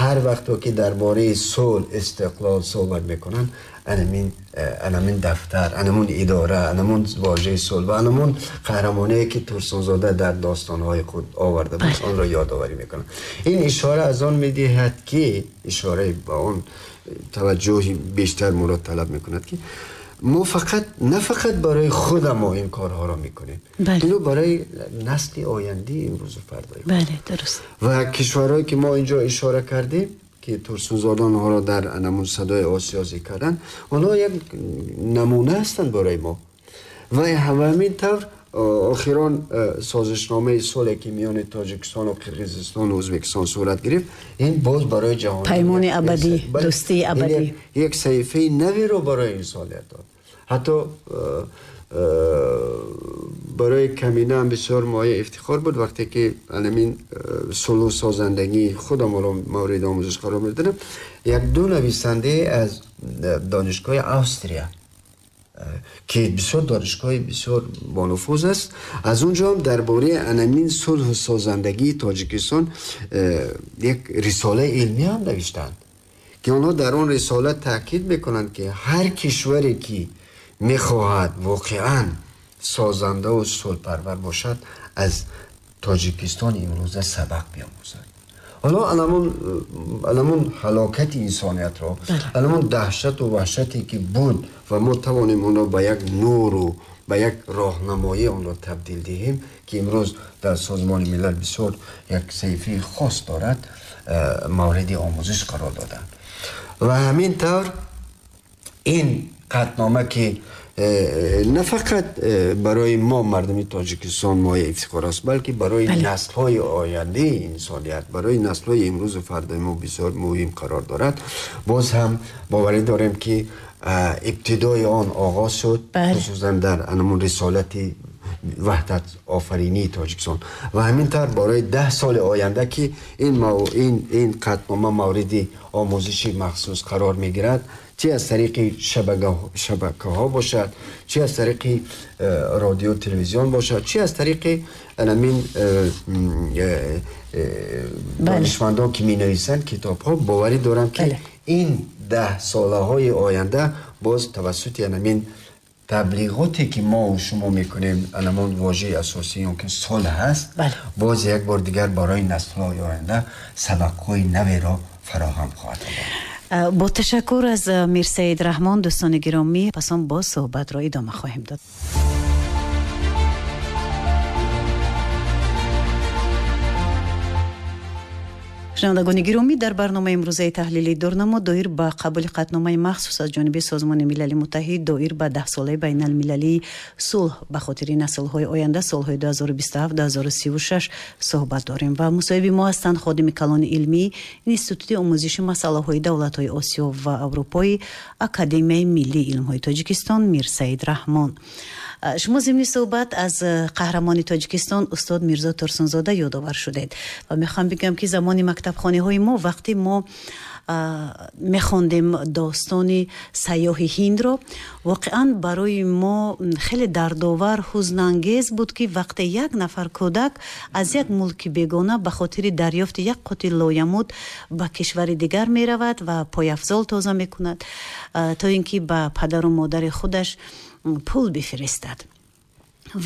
هر وقت که درباره صلح، استقلال صحبت میکنن، انمین دفتر، انمون اداره، انمون واژه صلح و انمون قهرمانی که تورسونزاده در داستانهای خود آورده بود آن را یادآوری میکنن. این اشاره از آن میدهد که اشاره به آن توجه بیشتر ما را طلب میکند که ما فقط نه فقط برای خود ما این کارها را میکنیم، اینو برای نسل آینده امروز و فردای. بله درست. و کشورهایی که ما اینجا اشاره کردیم که تورسونزاده آنها را در انمون صدای آسیا ذکر کردن، آنها یک نمونه هستند برای ما. و همین طور اخیراً سازشنامه صلح که میان تاجیکستان و قرقیزستان و ازبکستان صورت گرفت، این باز برای جهان پیمان ابدی، دوستی ابدی، یک صحیفه نوی رو برای انسانیت داد. حتی برای کمینه هم بسیار مایه افتخار بود وقتی که همین صلح سازندگی خودم را مورد آموزش قرار میدادم. یک دو نویسنده از دانشگاه آستریا که بسیار دانشگاه بسیار بانفوذ است، از اونجا هم درباره انمین صلح سازندگی تاجیکستان یک رساله علمی هم نوشتند که آنها در آن رساله تاکید میکنند که هر کشوری که میخواهد واقعا سازنده و صلح پرور باشد از تاجیکستان امروزه سبق بیاموزد. حالا الان هلاکت انسانیت را، الان دهشت و وحشتی که بود و ما توانیم آن را به یک نور و به یک راهنمایی آن را تبدیل دهیم که امروز در سازمان ملل بسیار یک صحیفه خاص دارد، مورد آموزش قرار دادند. و همین طور این قطعنامه که نه فقط برای ما مردم تاجیکستان مایه افتخار است، بلکه برای نسل‌های آینده انسانیت، برای نسل‌های امروز و فردای ما بسیار مهم قرار دارد. باز هم باوری داریم که ابتدای آن آغاز شد، خصوصا در انمون رسالت وحدت آفرینی تاجیکستان و همین طور برای 10 سال آینده که این قطعنامه مورد آموزش مخصوص قرار میگیرد، چه از طریق شبکه ها باشد، چه از طریق رادیو تلویزیون باشد، چه از طریق همین دانشمندان که می نویسند کتاب ها، باوری دارم که این 10 ساله های آینده باز توسط همین تبلیغاتی که ما و شما میکنیم، الان واژه اساسی اون که صلح هست، باز یک بار دیگر برای نسل های آینده سبق های نوی را فراهم خواهد آورد. با تشکر از میرسید رحمان، دوستان گرامی، پس هم باز صحبت را ادامه خواهیم داد. شنوندگان گرامی، در برنامه امروزه تحلیلی دورنما دایر به قبول قطعنامه مخصوص از جانب سازمان ملل متحد دایر به 10 ساله بین المللی صلح به خاطر نسل‌های آینده سال‌های 2027-2036 صحبت داریم و مصاحب ما هستند خادم کلان علمی اینستیتوت آموزش مسائل دولت‌های آسیا و اروپایی اکادمی ملی علم‌های تاجیکستان میرسید رحمان. شما ضمن صحبت از قهرمان تاجیکستان استاد میرزا تورسونزاده یادآور شدید و میخوام بگم که زمان مکتبخانه های ما وقتی ما میخوندیم داستان سیاح هند رو، واقعا برای ما خیلی دردآور، حزن‌انگیز بود که وقتی یک نفر کودک از یک ملک بیگانه به خاطر دریافت یک قطعه لایمود به کشور دیگر میرود و پایافزال تازه میکند تا اینکه به پدر و مادر خودش پول بفرستد.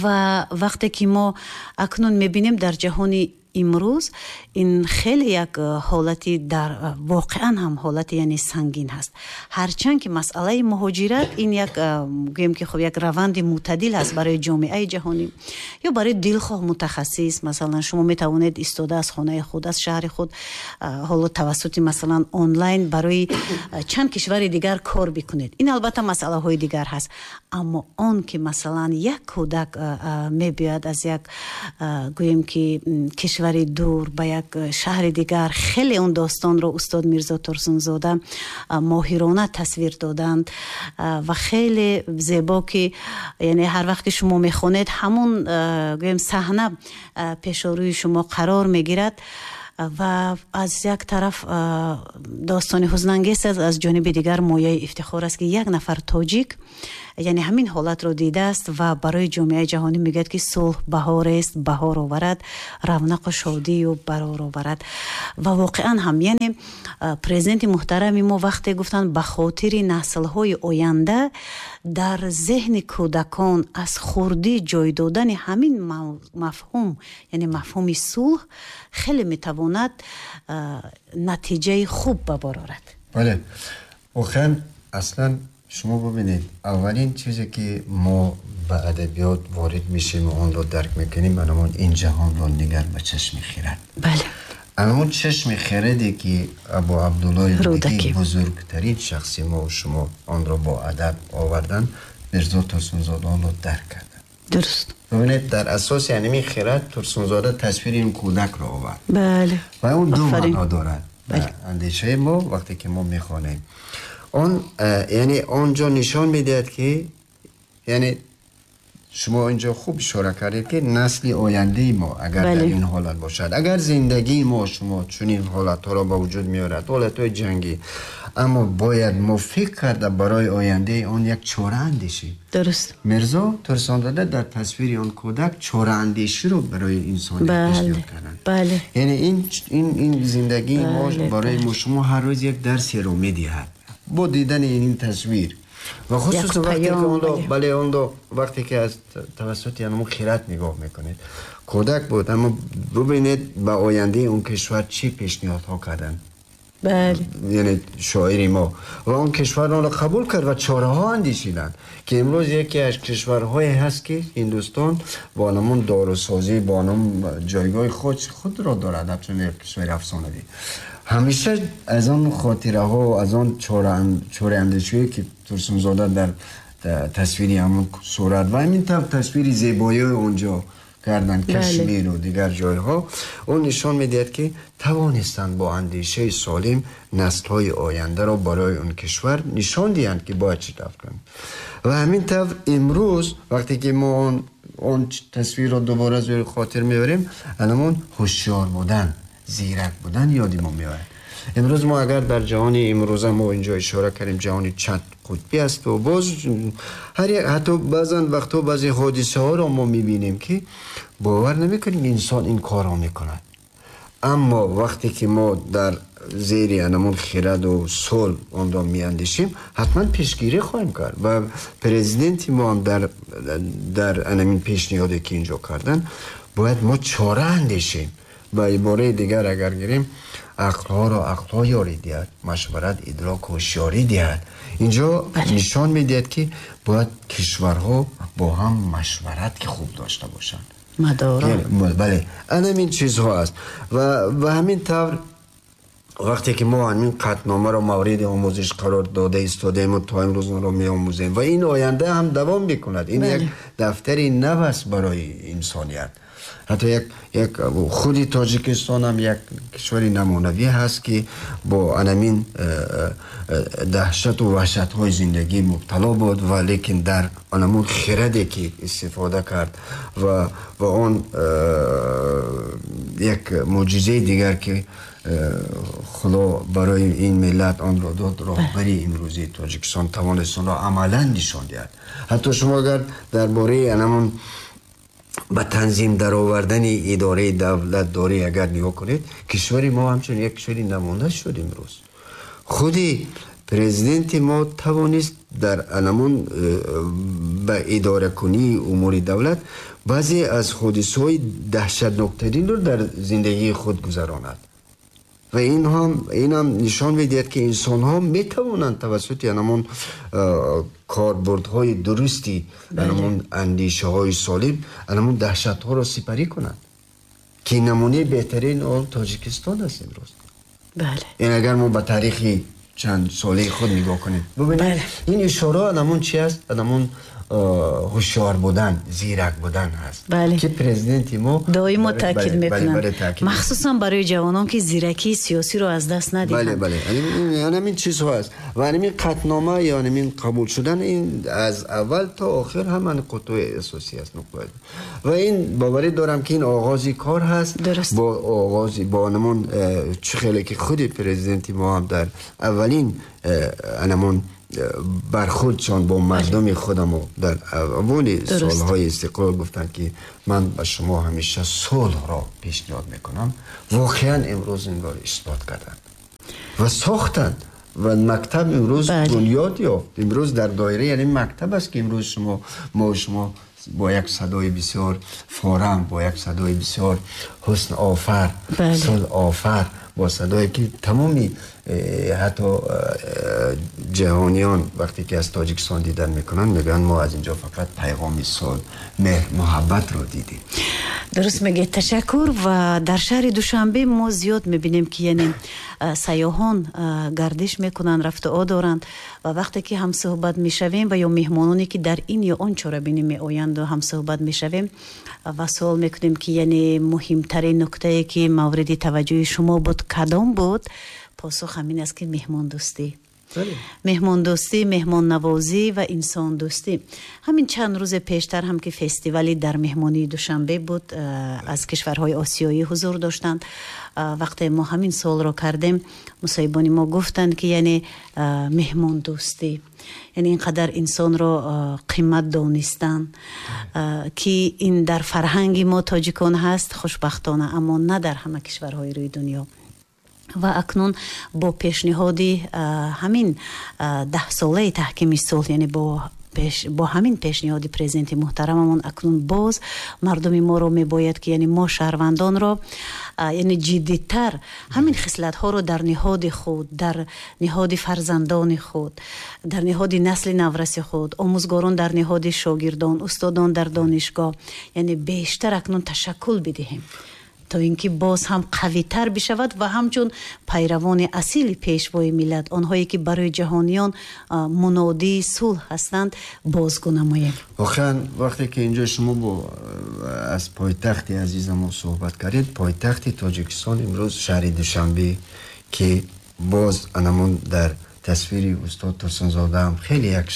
و وقتی که ما اکنون میبینیم در جهان امروز این خیلی یک حالتی در واقعا هم حالت یعنی سنگین هست، هرچند که مسئله مهاجرت این یک گویم که خب یک روند معتدل هست برای جامعه جهانی یا برای دلخواه متخصص. مثلا شما میتوانید ایستاده از خانه خود، از شهر خود، حالا توسط مثلا آنلاین برای چند کشور دیگر کار بکنید، این البته مسئله های دیگر هست. اما آن که مثلا یک کودک میبیاد از یک گویم که کشور دور به یک شهر دیگر، خیلی اون داستان رو استاد میرزا تورسونزاده ماهرانه تصویر دادند و خیلی زیبا که یعنی هر وقت که شما میخونید همون گویم صحنه پیش روی شما قرار میگیرد و از یک طرف داستان حزن انگیز است، از جانب دیگر مایه افتخار است که یک نفر تاجیک، Яъне ҳамин ҳолатро дидааст ва барои ҷомеаи ҷаҳонӣ мегӯяд, ки сулҳ баҳор аст, баҳор оварад, равнақу шодию барор оварад. Ва воқеан ҳам, яъне президенти муҳтарами мо вақте гуфтанд, ба хотири наслҳои оянда дар зеҳни кӯдакон аз хурдӣ ҷой додани ҳамин мафҳум, яъне мафҳуми сулҳ, хеле метавонад натиҷаи хуб ба бор орад. Бале, воқеан, аслан шумо бубинед, аввалин чизе ки мо ба адабиёт ворид мешем ва онро дарк мекунем, анамон ин ҷаҳонро нигар ба чашми хирад. Анамон чашми хираде ки Абу Абдуллои Рӯдакӣ, бузургтарин шахси мо шумо, онро бо адаб овардан, Мирзо Турсунзода онро дарк карданд. Бубинед, дар асоси ҳамин хирад Турсунзода тасвири ин кӯдакро овард. Ва он ду маъно дорад. Андешаи мо вақте ки мо мехонем, он яъне он ҷо нишон медиҳад, ки яъне шумо инҷо хуб ишора кардед, ки насли ояндаи мо агар дар ин ҳолат бошад, агар зиндагии мо шумо чунин ҳолатҳоро ба вуҷуд меорад, ҳолатҳои ҷангӣ, аммо бояд мо фикр карда барои ояндаи он як чора андешем. Мирзо Турсунзода дар тасвири он кӯдак чораандеширо барои инсоният пешниҳод карданд. Яъне ин зиндагии мо барои мо шумо ҳар рӯз як дарсеро медиҳад бо дидани ин тасвир ва хусусан вақте ки онро, бале, онро вақте ки аз тавассути ҳамон хирад нигоҳ мекунед, кӯдак буд, аммо бубинед, ба ояндаи он кишвар чӣ пешниҳодҳо карданд. Яъне шоири мо ва он кишвар онро қабул кард ва чораҳо андешиданд, ки имрӯз яке аз кишварҳое ҳаст, ки Ҳиндустон бо ҳамон дорусозӣ, бо ҳамон ҷойгоҳи худро дорад, ҳамчун як кишвари афсонавӣ. Ҳамеша аз он хотираҳо, аз он чораандешиҳое ки Турсунзода дар тасвири ҳамон сурат ва ҳамин тавр тасвири зебоиҳои онҷо карданд, Кашмиру дигар ҷойҳо, он нишон медиҳад, ки тавонистанд бо андешаи солим наслҳои ояндаро барои он кишвар нишон диҳанд, ки бояд чӣ тавр кунанд. Ва ҳамин тавр имрӯз вақте ки мо он тасвирро дубора зери хотир меорем, анамон ҳушёр будан, зирак будан ёди мо меояд. Имрӯз мо агар дар ҷаҳони имрӯза, мо инҷо ишора кардем, ҷаҳони чанд қутбӣ аст ва боз ҳар як, ҳатто баъзан вақтҳо баъзе ҳодисаҳоро мо мебинем, ки бовар намекунем инсон ин корро мекунад. Аммо вақте ки мо дар зери анамон хираду сулҳ онро меандешем, ҳатман пешгирӣ хоҳем кард. Ва президенти мо ҳам дар анамин пешниҳоде ки инҷо карданд, бояд мо чора андешем. Ба ибораи дигар агар гирем, ақлҳоро ақлҳо ёрӣ диҳад, машварат идрок ҳушёрӣ диҳад. Инҷо нишон медиҳад, ки бояд кишварҳо бо ҳам машварат ки хуб дошта бошанд. Мадоро. Бале, анамин чизҳо аст. Ва ба ҳамин тавр вақте ки мо ҳамин қатъномаро мавриди омӯзиш қарор дода истодаем ва то имрӯз онро меомӯзем ва ин оянда ҳам давом мекунад, ин як дафтари нав аст барои инсоният. Ҳатто як худи Тоҷикистон ҳам як кишвари намунавӣ ҳаст, ки бо анамин даҳшату ваҳшатҳои зиндагӣ мубтало буд, ва лекин дар анамун хираде ки истифода кард ва он як мӯъҷизаи дигар, ки Худо барои ин миллат онро дод, роҳбари имрӯзии Тоҷикистон тавонист онро амалан нишон диҳад. Ҳатто шумо агар дар бораи анамун ба танзим даровардани идораи давлатдорӣ агар нигоҳ кунед, кишвари мо ҳамчун як кишвари намуна шуд. Имрӯз худи президенти мо тавонист дар анамун ба идоракунии умури давлат баъзе аз ҳодисаҳои даҳшатноктаринро дар зиндагии худ гузаронад. Ва инам нишон медиҳад, ки инсонҳо метавонанд тавассути анамон корбурдҳои дурусти анамон андешаҳои солим анамон даҳшатҳоро сипарӣ кунанд, ки намунаи беҳтарин он Тоҷикистон аст имрӯз. Ин агар мо ба таърихи чанд солаи худ нигоҳ кунем, бубинед, ин ишора анамон чи аст? Анамон ҳушёр будан, зирак будан ҳаст, ки президенти мо доимо таъкид мекунанд, махсусан барои ҷавонон, ки зиракии сиёсиро аз даст надиҳанд. Бале, ҳамин чизҳо аст. Ва ҳамин қатънома ё ҳамин қабул шудан, ин аз аввал то охир ҳама нуқтаҳои асосӣ аст. Ва ин боварӣ дорам, ки ин оғози кор ҳаст. Бо оғози бо ҳамон чӣ хеле ки худи президенти мо ҳам дар аввалин анамон برخوردشان با مردم خودم در اول سالهای استقلال گفتن که من به شما همیشه صلح را پیشنهاد میکنم، واقعا امروز این را اثبات کردند و ساختند و مکتب امروز بنیاد یافت. امروز در دایره یعنی مکتب است که امروز شما ما و شما با یک صدای بسیار فارم، با یک صدای بسیار حسن آفر، صلح آفر، با صدایی که تمامی حتی جهانیان وقتی که از تاجیکستان دیدن میکنن میگن ما از اینجا فقط پیغام صلح، مهر، محبت رو دیدیم. درست میگه، تشکر. و در شهر دوشنبه ما زیاد میبینیم که یعنی سیاحان گردش میکنن، رفت و دارند و وقتی که هم صحبت میشویم و یا مهمانانی که در این یا آن چاره‌بینی میآیند و هم صحبت میشویم و سوال میکنیم که یعنی مهمترین نکته که مورد توجه شما بود کدام بود، پاسخ همین است که مهمان دوستی. مهمان دوستی، مهمان نوازی و انسان دوستی. همین چند روز پیشتر هم که فستیوالی در مهمانی دوشنبه بود، از کشورهای آسیایی حضور داشتند. وقتی ما همین سوال را کردیم، مصاحبان ما گفتند که یعنی مهمان دوستی، یعنی اینقدر انسان را قیمت دانستن که این در فرهنگ ما تاجیکان هست خوشبختانه، اما نه در همه کشورهای روی دنیا. و اکنون با پیشنهاد همین 10 ساله تحکیم صلح، یعنی با همین پیشنهاد پرزیدنت محترممون، اکنون باز مردم ما رو میباید که یعنی ما شهروندان رو یعنی جدی‌تر همین خصلت ها رو در نهاد خود، در نهاد فرزندان خود، در نهاد نسل نورس خود، آموزگاران در نهاد شاگردان، استادان در دانشگاه، یعنی بیشتر اکنون تشکل بدهیم تا اینکه باز هم قوی تر بشود و همچون پیروان اصیل پیشوای ملت، آنهایی که برای جهانیان منادی صلح هستند، بازگو نماییم. واقعا وقتی که اینجا شما با از پایتخت عزیز ما صحبت کردید، پایتخت تاجیکستان امروز شهر دوشنبه که باز انمون در تصویر استاد ترسونزاده هم خیلی یک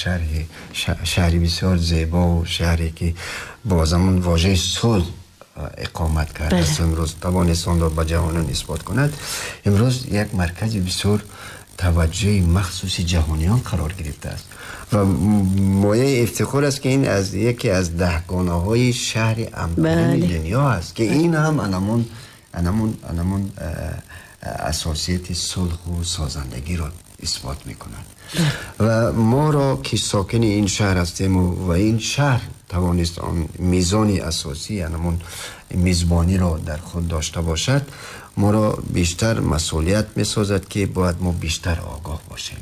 شهری بسیار زیبا و شهری که باز همون واژه صلح اقامت کرده است، امروز توانست آن را به جهانیان اثبات کند. امروز یک مرکز بسیار توجه مخصوص جهانیان قرار گرفته است و مایه افتخار است که این از یکی از 10 گانه شهر امن دنیا است که این هم انمون اساسیت صلح و سازندگی را اثبات میکند. و ما را که ساکن این شهر هستیم و این شهر توانست آن میزان اساسی یعنی میزبانی را در خود داشته باشد، ما را بیشتر مسئولیت میسازد که باید ما بیشتر آگاه باشیم،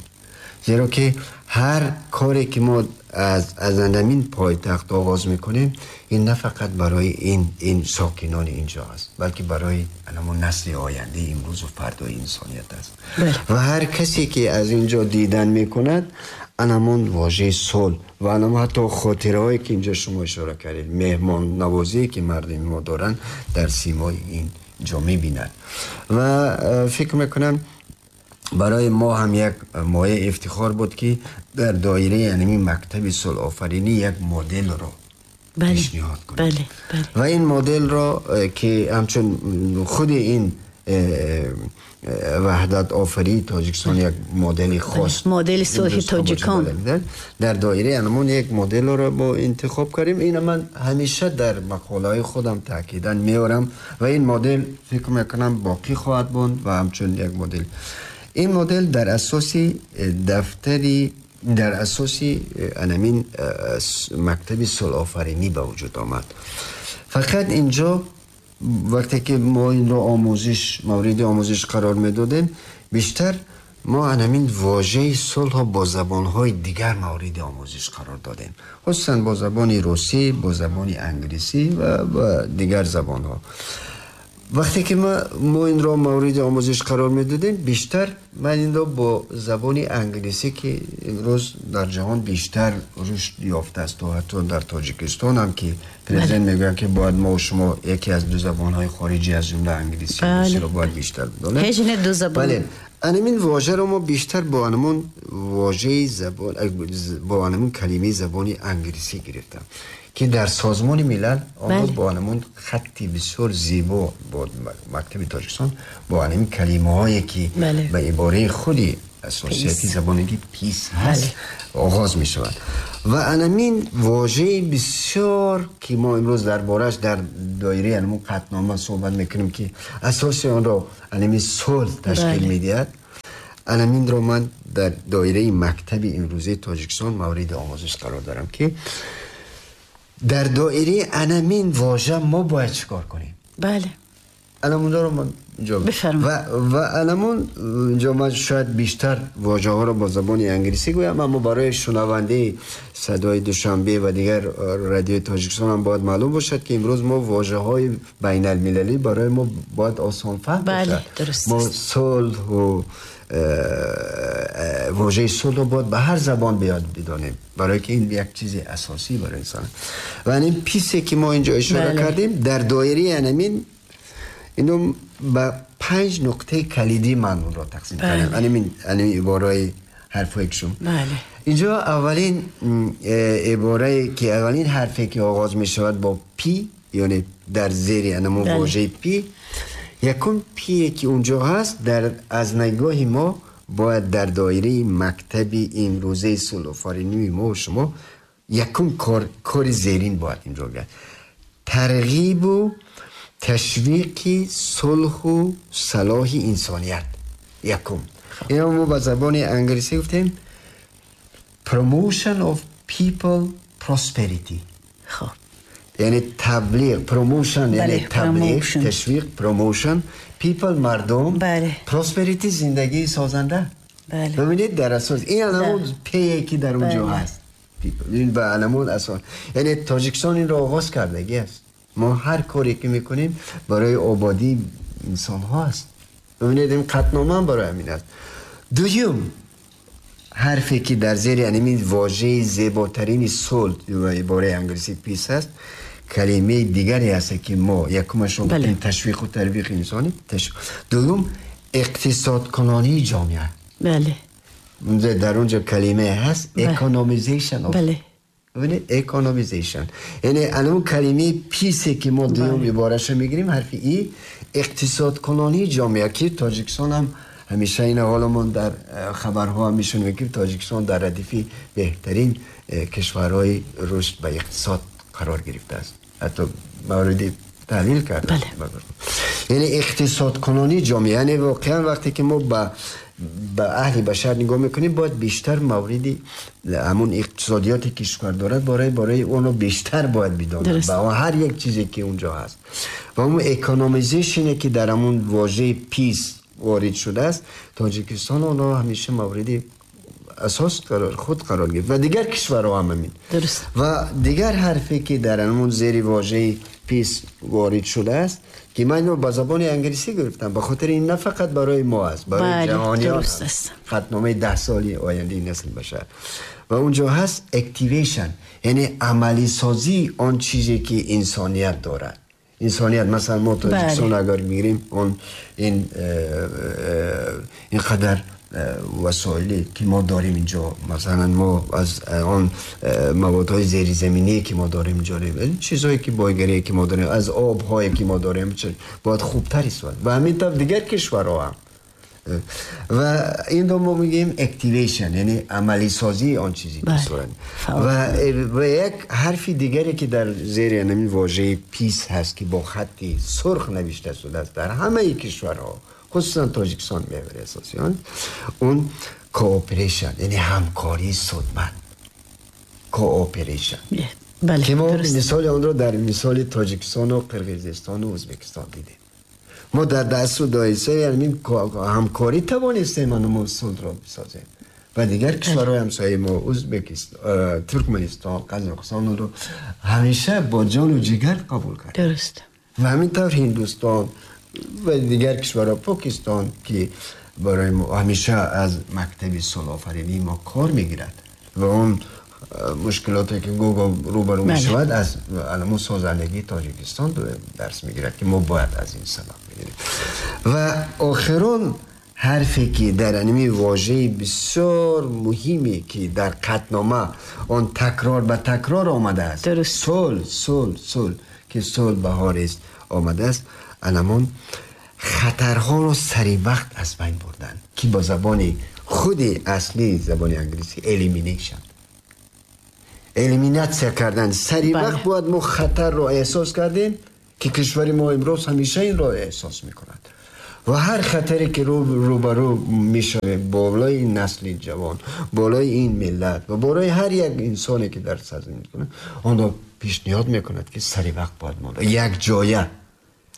زیرا که هر کاری که ما از همین پایتخت آغاز میکنیم، این نه فقط برای این ساکنان اینجا است، بلکه برای نسل آینده امروز و فردای انسانیت است. و هر کسی که از اینجا دیدن میکند، انمون واژه صلح و انمون حتی خاطرهایی که اینجا شما اشاره کردید، مهمان نوازی که مردم ما دارن در سیمای اینجا میبیند. و فکر میکنم برای ما هم یک مایه افتخار بود که در دایره یعنی مکتب صلح آفرینی یک مدل را پیشنهاد کنیم. و این مدل را که همچون خود این وحدت آفری تاجیکستان یک مدل خاص، مدل صلح تاجیکان، در دایره انمون یک مدل را با انتخاب کردیم. این من همیشه در مقاله خودم تاکیداً میارم و این مدل فکر میکنم باقی خواهد بود و همچون یک مدل، این مدل در اساس دفتری، در اساس انمین مکتب صلح آفرینی به وجود آمد. فقط اینجا وقتی که ما این رو مورد آموزش قرار میدادیم، بیشتر ما همین واژه صلح با زبانهای دیگر مورد آموزش قرار دادیم، خصوصا با زبان روسی، با زبان انگلیسی و دیگر زبانها. وقتی که ما این را مورد آموزش قرار میدادیم، بیشتر من این را با زبان انگلیسی که امروز در جهان بیشتر رشد یافته است و حتی در تاجیکستان هم که پرزیدنت میگوید که باید ما و شما یکی از 2 زبان‌های خارجی از جمله انگلیسی و روسی را باید بیشتر بدانیم. هیچ نه 2 زبان. بله، این واژه را ما بیشتر با انمون واژه زبان، با انمون کلمه زبان انگلیسی گرفتم که در سازمان ملل آمد با انمون خطی بسیار زیبا با مکتب تاجیکستان با انمون کلمه هایی که به عباره خودی اساسیتی زبانگی peace هست آغاز می شود. و انمین واژه بسیار که ما امروز دربارش در دایره انمون قطعنامه صحبت میکنیم که اساس آن را انمین صلح تشکیل میدهد، انمین را من در دایره مکتب امروزی تاجیکستان مورد آموزش قرار دارم که در دایره انمین واژه ما باید چیکار کنیم. بله، الان رو من اینجا و الان اینجا من شاید بیشتر واژه ها رو با زبان انگلیسی گویم، اما برای شنونده صدای دوشنبه و دیگر رادیوی تاجیکستان هم باید معلوم باشد که امروز ما واژه های بین المللی برای ما باید آسان فهم باشد. بله، درست. ما صلح و واژه صلح رو باید به هر زبان بیاد بدانیم، برای که این یک چیز اساسی برای انسان. و این peace ی که ما اینجا اشاره کردیم در دایره همین اینو به 5 نقطه کلیدی من اون را تقسیم کردم. یعنی عباره حرفای شما. بله. اینجا اولین عباره که اولین حرفی که آغاز می شود با P، یعنی در زیر انمو واژه P، یکم P که اونجا هست در از نگاه ما باید در دایره مکتب امروزه صلح‌آفرینی ما و شما یکم کار زیرین باید اینجا گرد. ترغیب و تشویق صلح و صلاح انسانیت یکم. اینو ما با زبان انگلیسی گفتیم promotion of people prosperity. خب یعنی تبلیغ، promotion یعنی تبلیغ، تشویق، promotion، people مردم، بله. prosperity زندگی سازنده. بله. ببینید در اساس این الان P که در اونجا هست people، این به الان اساس یعنی تاجیکستان این رو آغاز کردگی است. ما هر کاری که میکنیم برای آبادی انسان ها است. ببینید این قطعنامه هم برای همین است. دوم حرفی که در زیر یعنی واژه زیباترین صلح و عباره انگلیسی peace است، کلمه دیگری هست که ما یکمش رو بله. تشویق و ترویج انسانی، دوم اقتصاد کنانی جامعه. بله. در اونجا کلمه هست economization. بله. ببینید economization یعنی الان کلمه peace ی که ما دوم عبارش رو میگیریم حرف E، اقتصاد کنانی جامعه که تاجیکستان هم همیشه این حالمون در خبرها هم میشونیم که تاجیکستان در ردیف بهترین کشورهای رشد به اقتصاد قرار گرفته است، حتی مورد تحلیل کرده. بله. یعنی اقتصاد کنانی جامعه، یعنی واقعا وقتی که ما به اهل بشر نگاه میکنیم باید بیشتر مورد همون اقتصادیات کشور دارد برای اونو بیشتر باید بدانیم و هر یک چیزی که اونجا هست و اون economization ی که در همون واژه peace وارد شده است، تاجیکستان اونو همیشه مورد اساس قرار خود قرار گرفت و دیگر کشورها هم همین. درست. و دیگر حرفی که در همون زیر واژه peace وارد شده است که من اینو با زبان انگلیسی گرفتم به خاطر این نه فقط برای ما است، برای جهانیان است. خطنامه 10 سالی آینده نسل بشر و اونجا هست activation، یعنی عملی سازی آن چیزی که انسانیت دارد. انسانیت مثلا ما تاجیکستان اگر میگیریم اون این اینقدر وسایلی که ما داریم اینجا، مثلا ما از آن موادهای زیرزمینی که ما داریم اینجا، چیزهایی که بایگری که ما داریم، از آبهایی که ما داریم، باید خوبتر استفاده و همین طور دیگر کشورها هم. و این رو ما میگیم activation، یعنی عملی سازی آن چیزی که صورت. و یک حرف دیگری که در زیر همین واژه peace هست که با خط سرخ نوشته شده است در همه کشورها، خصوصا تاجیکستان محور اساسی آن، اون cooperation یعنی همکاری سودمند. cooperation بله، که ما مثال آن رو در مثال تاجیکستان و قرقیزستان و ازبکستان دیدیم. ما در دست و دایسه یعنی همکاری توانستیم ما صلح را بسازیم و دیگر کشورهای همسایه ما، ازبکستان، ترکمنستان، قزاقستان رو همیشه با جان و جگر قبول کرد. درست. و همینطور هندوستان و دیگر کشورها، پاکستان که برای ما همیشه از مکتب صلح‌آفرینی ما کار میگیرد و اون مشکلاتی که گوگا روبرو میشود از علم سازندگی تاجیکستان درس میگیرد که ما باید از این سبق بگیریم. و آخرون حرفی که در انمی واژه بسیار مهمی که در قطعنامه آن تکرار به تکرار آمده است، صلح صلح صلح که صلح بهار است آمده است، انمون خطرها رو سری وقت از بین بردن که با زبان خود اصلی زبان انگلیسی elimination، eliminatsia کردن. سری وقت باید ما خطر را احساس کردیم که کشور ما امروز همیشه این را احساس میکند و هر خطری که روبرو میشویم بالای این نسل جوان، بالای این ملت و بالای هر یک انسانی که در سرزمین میکنه، آن را پیشنهاد میکند که سری وقت باید ما یک جایه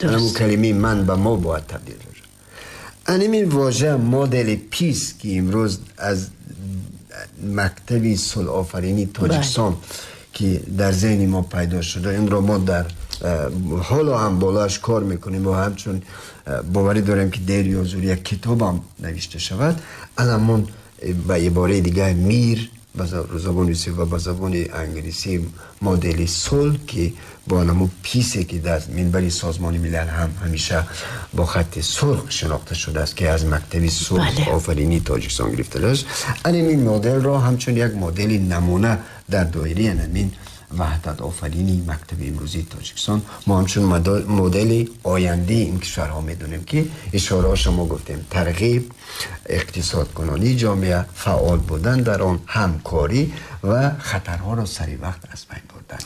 همون کلمه من به ما باید تبدیل شد. این واژه مدل peace که امروز از مکتب صلح آفرینی تاجیکستان که در ذهن ما پیدا شده، این را ما در حالا هم بالاش کار میکنیم و همچون باوری داریم که دیر یا زود یک کتاب هم نوشته شود. الان به عباره دیگه мир به زبان روسی و به زبان انگلیسی مدل صلح که با نمو peace ه که در منبر سازمان ملل هم همیشه با خط سرخ شناخته شده است که از مکتب صلح آفرینی تاجیکستان گرفته است. این مدل را همچون یک مدل نمونه در دایره همین وحدت آفرینی مکتب امروزی تاجیکستان ما همچون مدل آینده این کشورها میدونیم که اشاره شما گفتیم ترغیب، اقتصاد کنانی جامعه، فعال بودن در آن، همکاری و خطرها را سری وقت از بین بردن.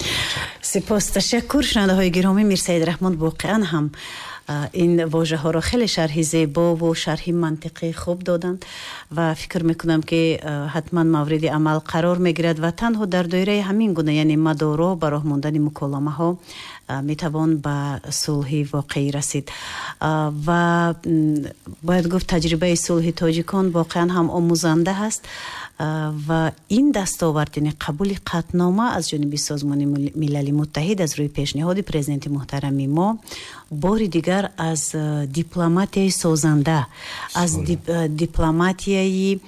سپاس، تشکر. شنونده های گرامی، میرسید رحمان واقعا هم این واژه ها را خیلی شرح زیبا و شرح منطقی خوب دادند و فکر میکنم که حتما مورد عمل قرار میگیرد و تنها در دایره همین گونه، یعنی مدارا براه ماندن مکالمه ها، میتوان به صلح واقعی رسید. و باید گفت تجربه صلح تاجیکان واقعا هم آموزنده است و این دستاورد، یعنی قبول قطعنامه از جانب سازمان ملل متحد از روی پیشنهاد پرزیدنت محترم ما، بار دیگر از دیپلماتیای سازنده، از دیپلماتیای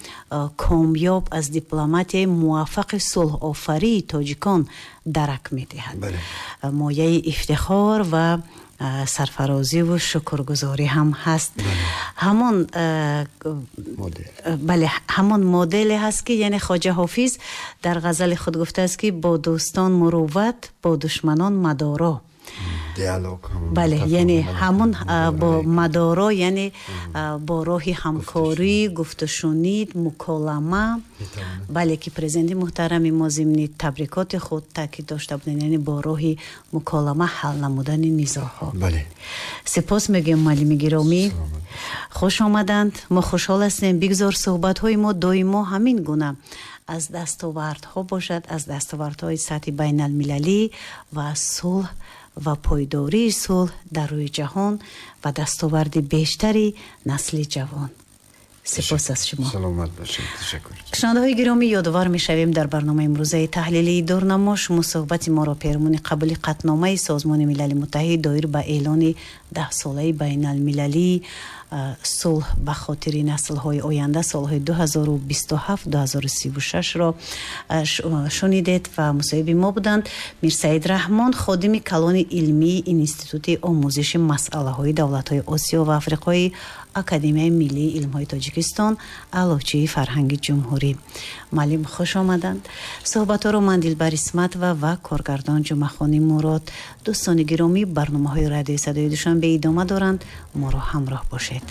کامیاب، از دیپلماتیای موفق صلح آفری تاجیکان درک میدهد. مایه افتخار و سرفرازی و شکرگزاری هم هست. همان بله، همان مدل هست که یعنی خواجه حافظ در غزل خود گفته است که با دوستان مروت، با دشمنان مدارا. دیالوگ. بله، یعنی همون با مدارا، یعنی با راه همکاری، گفت و شنید، مکالمه. بله، که پرزیدنت محترم ما ضمن تبریکات خود تاکید داشته بودند، یعنی با راه مکالمه حل نمودن نزاعها. سپاس میگیم معلم گرامی، خوش آمدند. ما خوشحال هستیم. بگذار صحبت های ما دائما همین گونه از دستاوردها باشد، از دستاوردهای سطح بین المللی و صلح و پایداری صلح در روی جهان و دستاورد بیشتری نسل جوان. سپاس از شما. سلامت باشید، تشکر. شنونده های گرامی، یادآور میشویم در برنامه امروزه تحلیلی دورنما شما صحبت ما را پیرامون قبول قطعنامه سازمان ملل متحد دایر به اعلان 10 ساله بین المللی صلح به خاطر نسل های آینده، سالهای 2027-2036 را شنیدید و مصاحب ما بودند میرسعید رحمان، خادم کلان علمی اینستیتوت آموزش مسئله های دولت های آسیا و افریقای اکادمی ملی علم های تاجیکستان، اعلاچی فرهنگ جمهوری. معلم خوش آمدند. صحبت رو من دلبر اسمت و کارگردان جمعه مراد. دوستان گرامی، برنامه های رادیو صدای دوشنبه ادامه دارند. ما را همراه باشید.